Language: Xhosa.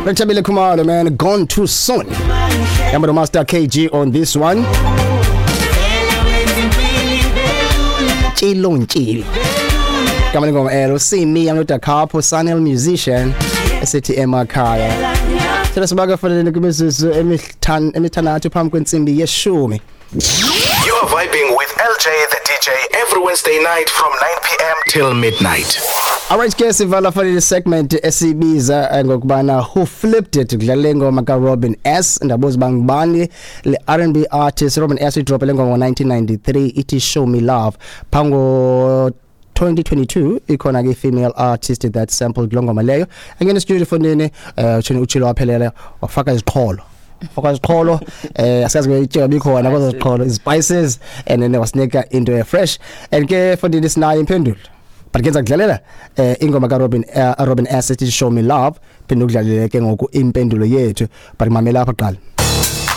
Rethabile Khumalo, man, gone too soon. Yamba no Master KG on this one. Tshilo ntshilo. Gama lengoma elo Simi yamloda Capo Sanel musician esithi emakhaya. Sele sibaka fanele kumizuzu emihlanu emithandathu phambi kwentsimbi yeshumi. You are vibing with LJ the DJ every Wednesday night from 9 p.m. till midnight. Alright ke, sivala fanele segment esibiza ngokubana Who Flipped It. Kudlala ingoma ka Robin S. Ndabuza bangibani le R&B artist Robin S. Idrop le ngoma ngo1993 ithi Show Me Love. Phango 2022 ikhona ke female artist that sampled lo ngoma leyo. Angena studio fonini, uthini uchilo waphelela, wafaka iziqholo, faka iziqholo, asiyazi ke ityewa bikhona kwezo ziqholo, spices, and then wasinika into e fresh. And ke fondini sinayo impendulo, but ke kudlalela ingoma ka Robin S ethi Show Me Love, phinde ukudlalele ke ngoku impendulo yethu, but mamela apha qala.